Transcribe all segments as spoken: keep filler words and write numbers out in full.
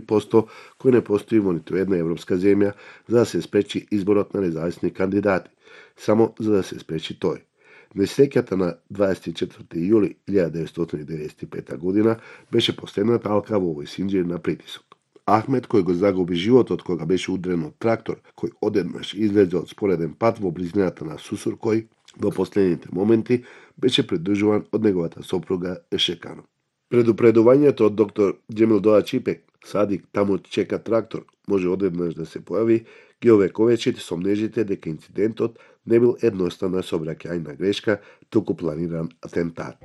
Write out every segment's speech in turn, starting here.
посто кој не постои во ниту една европска земја за да се спречи изборот на независни кандидати, само за да се спречи тој. Несреќата на дваесет и четврти јули илјада деветстотини деветдесет и пета година беше последната алка во овој синџир на притисок. Ахмет, кој го загуби животот кога беше удрен од трактор, кој одеднаш излезе од спореден пат во близината на Сусуркој, во последните моменти беше придржуван од неговата сопруга Ешекано. Предупредувањето од доктор Џемил Доач Ипек, Садик таму чека трактор, може одеднаш да се појави, ги овековечи сомнежите дека инцидентот не бил едноставна сообраќајна грешка, туку планиран атентат.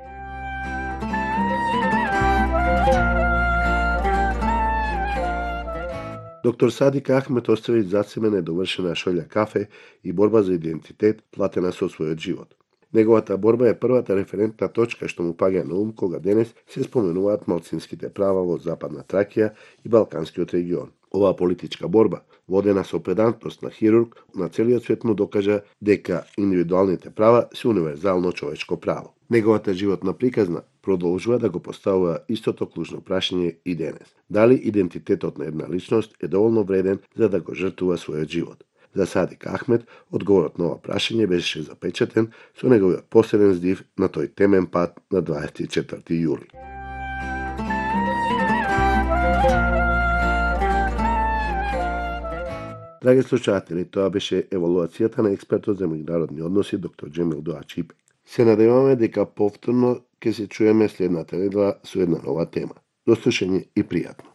Доктор Садик Ахмет остави зад себе недовршена шолја кафе и борба за идентитет платена со својот живот. Неговата борба е првата референтна точка што му паѓа на ум кога денес се споменуваат малцинските права во Западна Тракија и Балканскиот регион. Оваа политичка борба, водена со педантност на хирург, на целиот свет му докажа дека индивидуалните права се универзално човечко право. Неговата животна приказна продолжува да го поставува истото клучно прашање и денес. Дали идентитетот на една личност е доволно вреден за да го жртвува својот живот? За Садик Ахмет, одговорот на ова прашање беше запечатен со неговиот последен здив на тој темен пат на дваесет и четврти јули. Драги слушатели, тоа беше евалуацијата на експертот за меѓународни односи доктор Џемил Доач Ипек. Се надеваме дека повторно ќе се чуеме следната недела со една нова тема. До слушање и пријатно.